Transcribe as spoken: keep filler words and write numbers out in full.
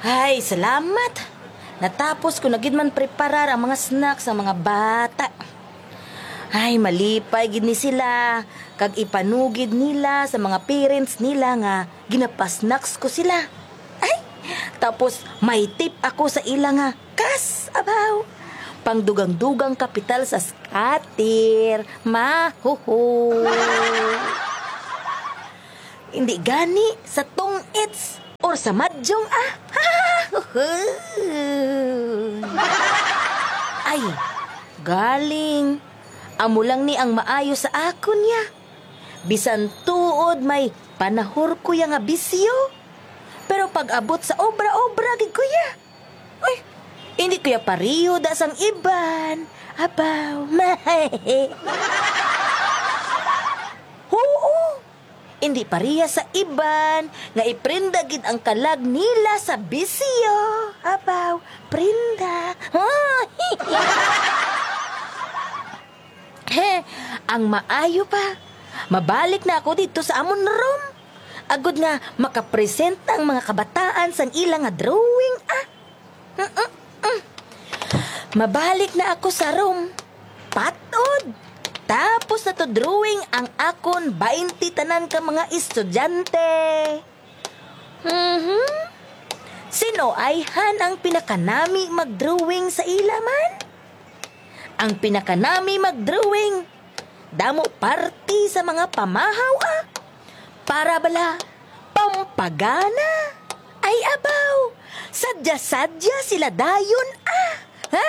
Ay, salamat. Natapos ko na gid man preparar ang mga snacks sa mga bata. Ay, malipay gid ni sila, kag ipanugid nila sa mga parents nila nga ginapasnacks ko sila. Ay, tapos may tip ako sa ila nga kas, abaw. Pangdugang-dugang kapital sa scatter. Mahuhu. Hindi gani sa tong-its or sa madyong, ah. Ay, galing. Amo lang ni ang maayo sa akon, ya. Bisan tuod may panahor ko ya nga bisyo. Pero pag-abot sa obra-obra gid ko ya. Uy, hindi ko ya pariyo da sang iban. Abaw, mahe. Oo, hindi pareha sa iban nga iprenda gid ang kalag nila sa bisyo. Abaw, prenda. He, ang maayo pa, mabalik na ako didto sa amon room. Agod nga makapresenta ang mga kabataan sang ila nga drawing, ah. Mm, mm, mm. Mabalik na ako sa room. Patod. Tapos na to drawing ang akon baynte tanan ka mga estudyante. Mhm. Sino ayhan ang pinakanami mag-drawing sa ila man? Ang pinakanami mag-drawing, damo parti sa mga pamahaw, ah. Para bala, pampagana. Ay, abaw, sadya-sadya sila dayon, ah.